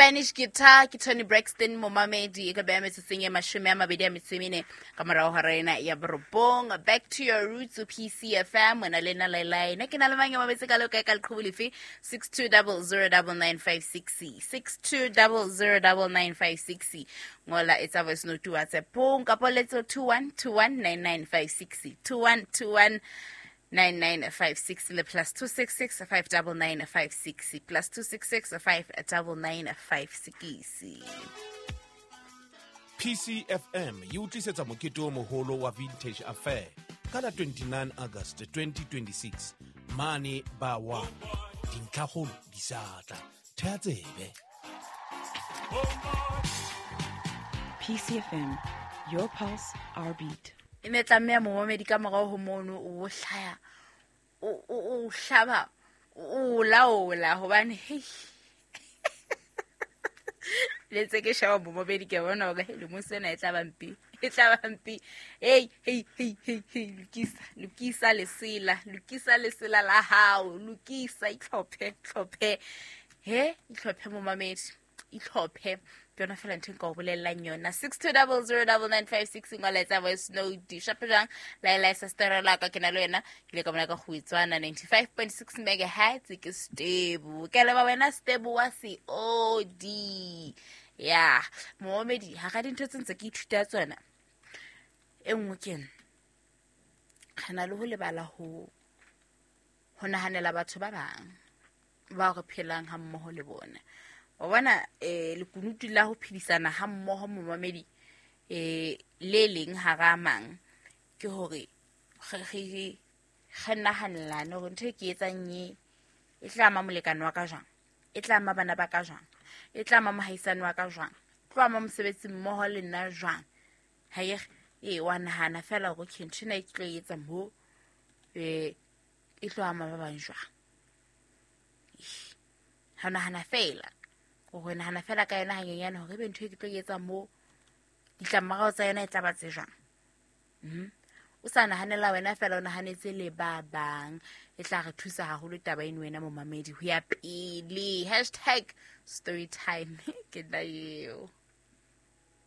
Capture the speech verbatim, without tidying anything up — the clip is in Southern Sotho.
Spanish guitar ke Toni Braxton momamedi e ka beha metsotsong e mashome a mabedi a metso e mene ka morao hora ena ya borobong. Back to your roots, P C F M, wena le nna Lailai. Nna ke na le mang ya mametse ka leo kae ka leqhubu lefe? six two double zero double nine five six, six two double zero double nine five six. Ngola etsa voice note WhatsApp-ong kapa letso two one two one nine nine five six, two one two one nine nine five six le plus two six six five double nine five six, plus two six six five double nine five six. P C F M e o tlisetsa mokete o moholo wa Vintage Affair ka la twenty-nine August twenty twenty-six mane ba wa dintlhakgolo di sa tla. Thea tsebe. P C F M, your pulse, our beat. E ne tlameha momamedi ka morao ho mono o hlaya, o, o, o hlaba, o laola hobane, hei. Le ntse ke sheba momamedi ke bona hore, hei, lemong sena e tla ba mpe, e tla ba mpe. Hei, hei, hei, hei, hei, lokisa, lokisa lesela, lokisa lesela la hao, lokisa, itlhophe, itlhophe. He, itlhophe momamedi, itlhophe. Ke yona fela ntho e nka o bolellang yona. six two double zero double nine five six, ngola etsa voice note. Shape jwang? Laila sa story la ka ke na le wena. Ke ile ka bona ka kgutswana ninety-five point six megahertz ke stable. Ke leba wena stable wa C O D. Ya, momamedi, ha ga dintho tse ntse ke ithuta tsona. E nngwe ke ena. Re na le ho lebala ho, ho nahanela batho ba bang bao re phelang ha mmoho le bona. Wa bona, eh, lekunutu la ho phedisana ha mmoho momamedi, eh, le leng hara mang, ke hore re, re, re nahanelane hore ntho e ke etsang e, e tla ama molekane wa ka jwang, e tla ama bana ba ka jwang, e tla ama mohaisane wa ka jwang, e tlo ama mosebetsi mmoho le nna jwang. Ha e re, ee, wa nahana fela hore okay, ntho ena e ke tlo e etsa mo, eh, e tlo ama ba bang jwang. Ha o nahana fela, hore nahana fela ka yona hanyenyane hore ebe ntho e ke tlo e etsa mo, ditlamorao tsa yona e tla ba tse jwang. Mm-hmm. O sa nahanela wena fela, o nahanetse le ba bang. E tla re thusa haholo taba eno wena momamedi ho ya pele. Hashtag story time. Ke nna eo.